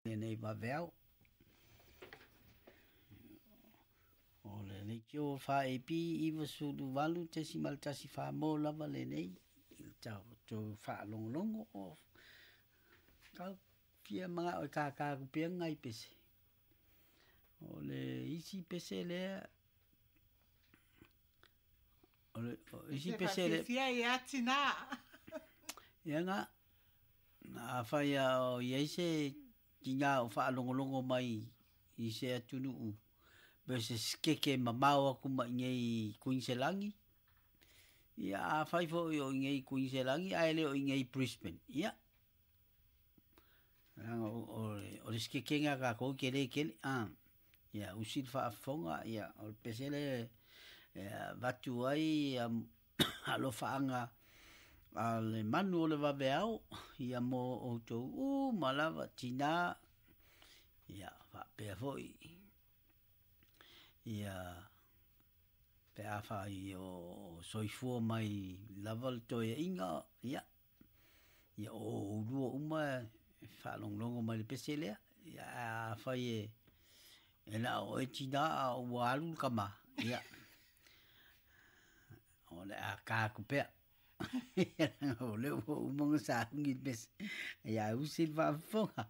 Lenei vaveao. O le leitio 4AP 98.14 mo lava lenei i le tatou faalogologo o tau fia manao e kākā atu pea nai pese. O le isi pese lea o le o isi pese lea. Fia ia tina. Ia nga afai a o i ai se tinā o faalogologo mai i se atunuu pe se sikeke mamao atu mai i inei i Kuiniselani, ia afai foi o i inei i Kuiniselani ae le o i inei i Brisbane, ia, leaga o le sikekega a tatou e tele tele, a. Ia usi le faafofoga, ia o le pese lea e avatu ai alofaaga a le manu o le vaveao ia mo outou uma lava tinā, ia faapea foi ia pe afai o soifua mai lava le toeaiga, ia ia o oulua uma e faalogologo mai i le pese lea, ia ae afai e na o oe tinā a ua alu le tama, ia o le a ta atu pea. O lea ua uma ona sauni le pese, ia ae usi le faafofoga.